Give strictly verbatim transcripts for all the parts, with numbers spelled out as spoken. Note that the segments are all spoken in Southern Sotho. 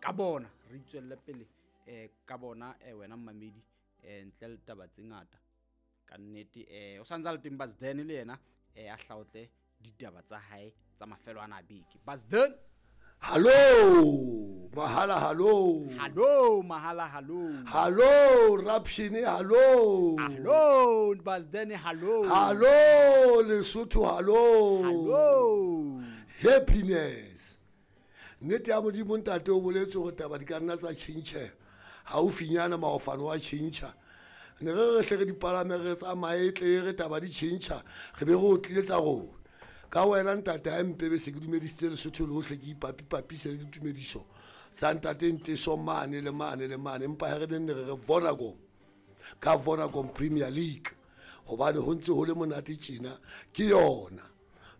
ka bona, re itswelle pele eh ka bona eh wena mmamedi eh ntle le taba tse ngata ka nnete. Eh o santsa le teng Basden le yena eh a hlaotle ditaba tsa hae tsa mafelo ana a beke. Basden. Hallo mahala, hallo hallo mahala, hallo hallo Rapshini, hallo hallo Basden, hallo hallo Lesotho, hallo hallo happiness. Nnete ya Modimo ntate o boletse hore taba di ka nna tsa tjhentjha haufinyana, maofano wa tjhentjha. Ne re re hle re dipalame re tsamaye tle re taba di tjhentjha, re be re o tlile tsa rona. Ka wena ntate ha mpebe se ke dumedisitse Lesotho lohle, ke ipapipapise le ditumediso tsa ntate Nteso mane le mane le mane, empa ha re nenne re re Vodacom ka Vodacom Premier League, hobane ho ntse ho le monate tjena ke yona.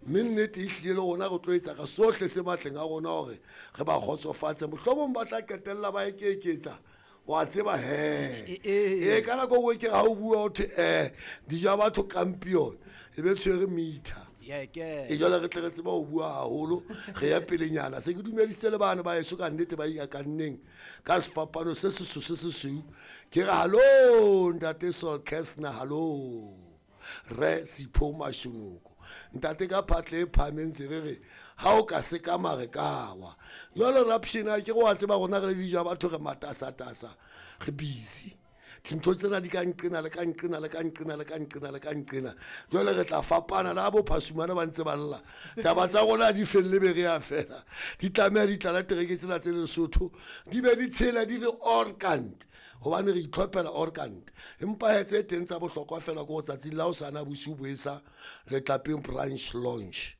Mme nnete e hlile le rona re tlo etsa ka sohle se matleng a rona hore re ba kgotsofatse, mohlomong ba tla qetella ba ekeketsa wa tseba he. E ka nako nngwe ke ha o bua ho thwe eh dijo batho campion e be tshwere meter. E jwale re tle re tseba ho bua haholo, re ya pelenyana. Se ke dumedisitse le bana ba heso ka nnete ba ikakanneng ka sefapano se seso se sesweu. Ke re hallo ntate Sol Kessner, hallo re Sipho Mashonoko ntate ka phatle e phahameng ntse re re ha o ka se ka mare ka wa. Jwale Rapshina ke go a tseba rona re le dijo batho re matasatasa, re busy. Dintho tsena di ka nqena le ka nqena le ka nqena le ka nqena le ka nqena. Jwale re tla fapana le bo phasumana ba ntse ba lla. Taba tsa rona di felle be re ya fela. Di tlameha di tlala tereke tsena tse Lesotho, di be di tshela di re orkant, hobane re itlhophela orkant. Empa he tse teng tsa bohlokwa fela ke ho tsatsing la hosane bosiu bo esa Letlapeng branch launch.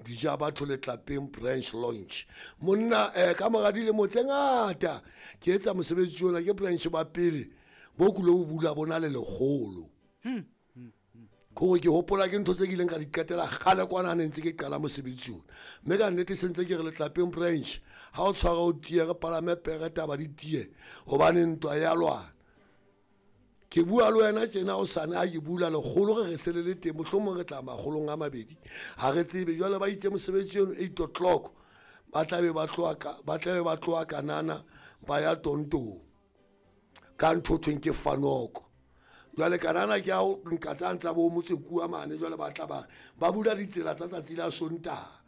Dija batho Letlapeng branch launch. Monna eh ka mora dilemo tse ngata ke etsa mosebetsi ona, ke branch ba pele bo kulo bo bula bona le lekgolo. Kore ke hopola ke ntho tse ke ileng ka di qetela kgale kwana ne ntse ke qala mosebetsi ona. Mme ka nnete se ntse ke re Letlapeng branch ha o tshwara o tiye, re palame pere taba di tiye, hobane ntwa ya lwana. Ke bua le wena tjena o sane ha ke bula lekgolo re re se le le teng, mohlomong re tla makgolong a mabedi, ha re tsebe. Jwale ba itse mosebetsi ono eight o'clock ba tla be ba tloha ka, ba tla be ba tloha Kanana ba ya Tontong ka ntho thweng ke Fanoko. Jwale Kanana ke ao nka tsa ntsa bo motse kua mane, jwale ba tla ba ba bula ditsela tsa tsatsi la Sontaha.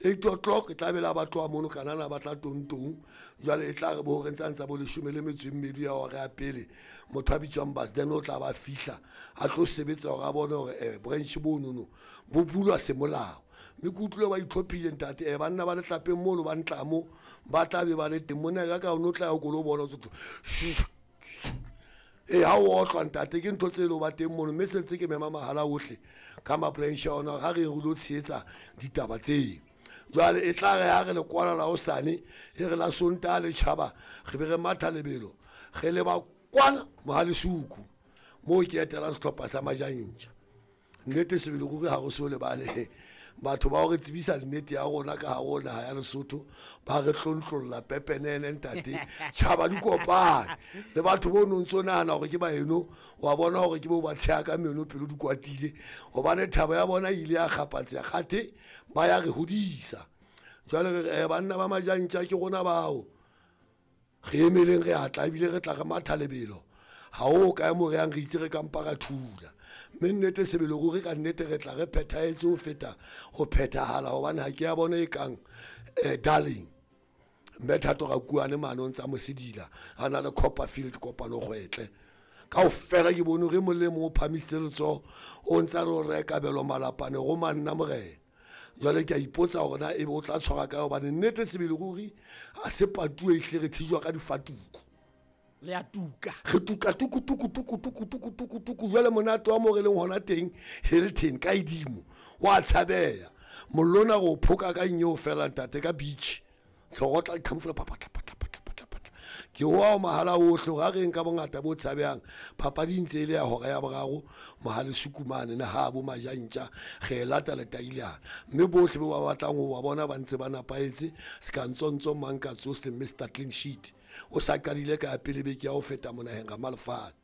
Eight o'clock e tla be la ba tloha mono Kanana ba tla Tontong. Jwale e tla re bo re ntsa ntsa bo leshome le metso e mmedi ya hora ya pele, motho a bitswang Basden o tla ba fihla a tlo sebetsa hore a bone hore eh branch bonono bo bulwa semolao. Mme ke utlwile ba itlhophile ntate, eh banna ba Letlapeng mono ba ntlamo ba tla be ba le teng mona ka ka o no tla ya kolo bona tsotso. E ha o otlwa ntate ke ntho tse le ba teng mono, mme se ntse ke mema mahala ohle ka ma branch a ona ha re re lo tshehetsa ditaba tseo. Jwale e tla re ha re le kwala la hosane, e re la Sontaha le tjhaba, re be re matha lebelo, re leba kwana Mohalesuku moo ke etelang sehlopha sa Majantja. Nnete sebele ruri ha re so lebale batho ba re tsebisa nnete ya rona ka hare ho naha ya Lesotho, ba re tlontlolla pepenene ntate. Tjhaba di kopane le batho bo no ntso nahana hore ke baeno, wa bona hore ke bo ba tsheha ka meno pelo di kwatile, hobane thabo ya bona e ile ya kgapatseha kgathe ba ya re hodisa. Jwale re re, eh, banna ba Majantja ke rona bao re emeleng, re atla ebile re tla re matha lebelo. Ha o kae mo re yang re itse re ka mpa ra thula. Mme nnete sebele ruri ka nnete re tla re phethahetse ho feta ho phethahala, hobane ha ke ya bona e kang, eh, darling. Mme Thato Rakuane mane o ntsa mo sedila, a na le Copperfield kopano kgwetle. Kaofela ke bone hore e mong le mong o phamisitse letsoho, o ntsa re o reka kabelo malapane go manna morena. Jwale ke a ipotsa hore na ebe o tla tshwara kae, hobane nnete sebele ruri ha se patuwe ehlile re thijwa ka difatuku. Le a tuka. Re tuka tuku tuku tuku tuku tuku tuku tuku. Jwale monate wa mo re leng hona teng Hilton ka edimo wa tshabeya. Mollo ona re o phoka ka nyeo fela ntate ka beach. Tshorotla qhamfula papatla patla patla patla patla. Ke wa o mahala ohle hore ha re nka bongata bo tshabehang, papadi ntse e le ya hora ya boraro, Mohalesuku mane ne ha bo Majantja re e lata letailana. Mme bohle bo ba batlang ho ba bona ba ntse ba napahetse, ska ntsontso mang ka tsohle Mister Clean Sheet. O sa qadile ka pele beke ya ho feta monaheng ga Malefane.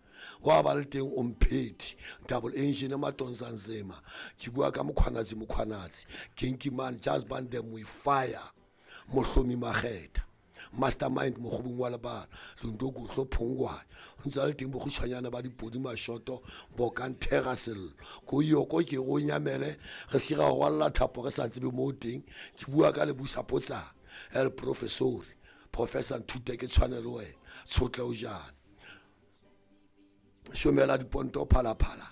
Wa ba le teng o mphethi double engine Matonsa Nzema. Ke bua ka Mkhwanazi, Mkhwanazi Kinky man, just band them with fire. Mohlomi Makgetha Mastermind mokgobong wa lebala Lundo Gotlo Phongwane o ntse a le teng bokgutshwanyana ba dipodi mashoto bokang thera sello ko yoko ke go nyamele re se ra rwalla thapo re sa tsebe mo teng ke bua ka le busa potsana el professor professor Nthute ke tshwanelo wena tshotle o jana shomela diponto phala phala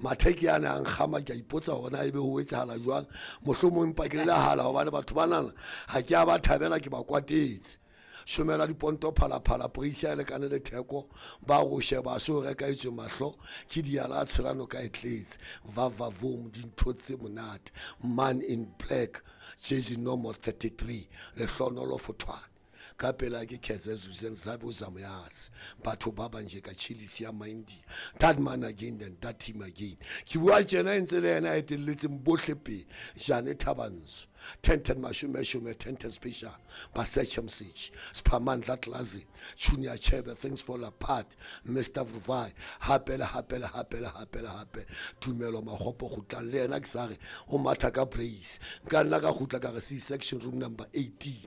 matheke a nang kgama ke a ipotsa hore na ebe ho etsahala jwang mohlomong mpa ke le hala hobane batho bana ha ke a ba thabela ke ba kwatetse shomela diponto phala phala poisa le kana le theko ba go sheba so reka itswe mahlo ke diala tshelano ka etletse va va vom dintho tse monate man in black jersey number thirty-three le hlonolo fothwane ka pela ke Khezezu Zabe Zamyas batho ba banje ka chilisi ya Mindi that man again and that team again ke bua tjena ntse le yena a etelletseng bohle pele Jane Thabanso ten ten mashome shome ten ten special ba search message Sphamandla Classic Junior Chebe things fall apart Mister Vruvai hape le hape le hape le hape le hape Tumelo Magopo gutla le yena ke sa re o matha ka brace nka nna ka gutla ka re C section room number eighteen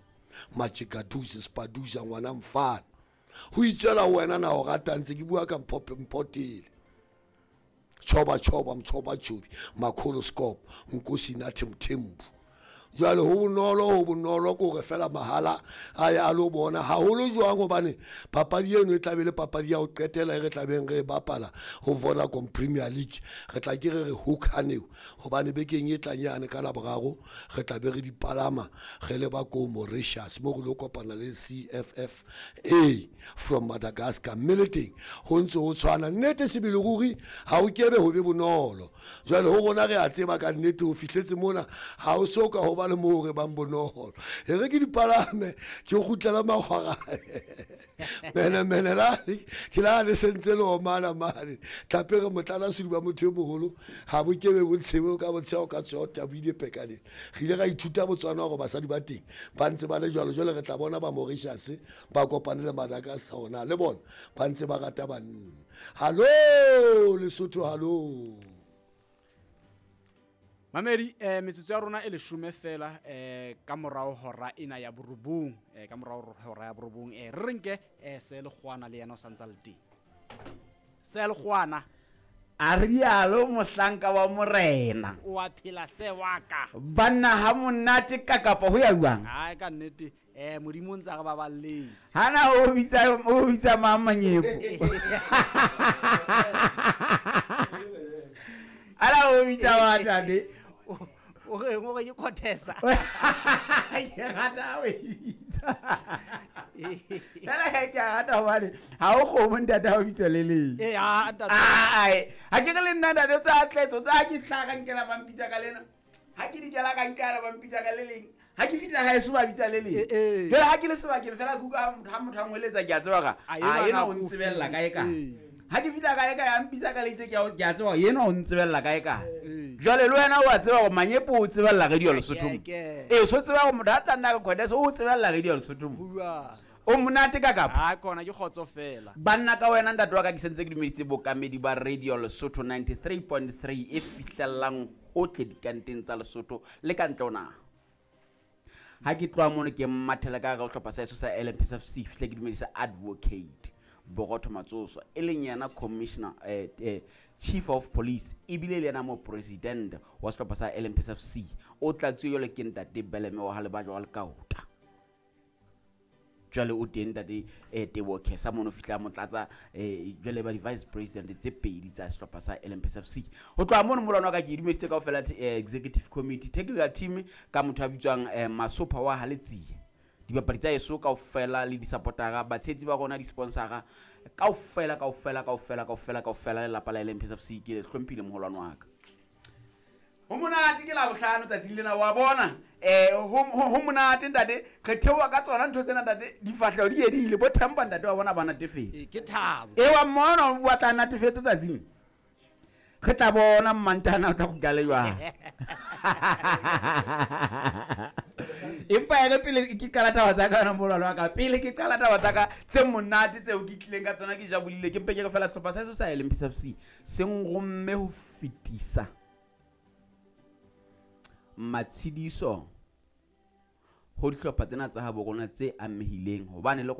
Machikaduze Spaduza ngwana mfana ho itswela wena na o rata ntse ke bua ka mphope mpotele choba choba mchoba chobi makholo scope nkosi nathi Mthembu jwale ho bonolo ho bonolo ko re fela mahala a ya lo bona haholo jwang hobane papadi eno e tlabe le papadi ya ho qetela e re tlabeng re bapala ho Vodacom Premier League re tla ke re re hook-aneo hobane bekeng e tlang yane ka Laboraro re tlabe re dipalama re le ba ko Mauritius mo re lo kopana le C F F A from Madagascar mme le teng ho ntse ho tshwana nnete sebele ruri ha o kebe ho be bonolo jwale ho rona re a tseba ka nnete ho fihletse mona ha o so ka ho ba le mo re bang bonolo e re ke dipalame ke kgutlela magwara mene mene la ke la le sentse le omana mane tlape re motlala sediba motho e moholo ha bo kebe bo tshebe ka botsheo ka tsota bo ile pekane re ile ra ithuta Botswana hore basadi ba teng ba ntse ba le jwalo jwale re tla bona ba Mauritius ba kopane le Madagascar hona le bona ba ntse ba rata banna hallo Lesotho hallo Mamedi eh metsotso ya rona e leshome fela eh ka morao hora ena ya borobong eh ka morao hora ya borobong eh re renke eh se le kgwana le yena o santsa le teng se le kgwana a rialo mohlanka wa morena o a phela se wa ka banna ha monate ka kapa ho ya buang ha ka nnete eh modimo ntse re ba balletse hana o bitsa o bitsa mamanyepo ala o bitsa wa tate o re o re ke contessa ke rata o bitsa fela he ke rata hobane ha o kgomo ntate o bitsa le leng eh ha ntate ai ha ke le nna ntate tsa tletso tsa ke tlhaga nkela ba mpitsa ka lena ha ke dikela ka nkela ba mpitsa ka le leng ha ke fitla ha eso ba bitsa le leng jwale ha ke le sebakeng fela ke utlwa ha motho a ngweletsa ke a tseba ka a ena o ntsebella kae ka ha ke fitla kae ka ya mpitsa ka leitse ke a tseba yena o ntsebella kae ka jwale le wena o a tseba gore Manyepo o tsebella radio Lesotho ee so tseba gore motho a tla nna ka Khodesa o tsebella radio Lesotho o monate ka kapa ha kona ke kgotso fela banna ka wena ntate wa ka ke sentse ke dumeditse bokamedi ba radio Lesotho ninety-three point three e fihlellang hohle dikanteng tsa Lesotho le ka ntle ho naha ha ke tloha mono ke mmathela ka hare ho hlopha sa eso sa L M P S F C fihle ke dumedisa advocate Bogotho Matsoso e leng yena commissioner eh, eh, chief of police ebile le yena mo president wa sehlopha sa L M P S F C o tlatsuwe jwale ke ntate Beleme wa Halebajo wa Lekaota jwale o teng ntate eh, Teboho Khesa mono fihla motlatsa eh, jwale ba di-vice president tse pedi tsa sehlopha sa L M P S F C ho tloha mono molwana wa ka ke dumeditse kaofela eh, executive committee technical team ka motho a bitswang eh, Masopha wa Haletsie dibapadi tsa eso kaofela le di-supportera batshehetsi ba rona di-sponsora kaofela kaofela kaofela kaofela kaofela lelapa la L M P S F C ke le hlomphile moholwane wa ka ho monate ke Labohlano tsatsing lena wa bona eh ho monate ntate re theoha ka tsona ntho tsena ntate difahleho di edile bo thempa ntate wa bona ba natefetse ke thabo e wa mmona o batla natefetse tsatsing re tla bona mmantana o tla go kale jwang empa ya re pele ke qala taba tsa ka yona molwalo wa ka pele ke qala taba tsa ka tse monate tseo ke tlileng ka tsona ke jabolile ke mpe ke re fela sehlopha sa eso sa L M P S F C se nromme ho fetisa matshidiso ho dihlopha tsena tsa habo rona tse amehileng hobane le rona.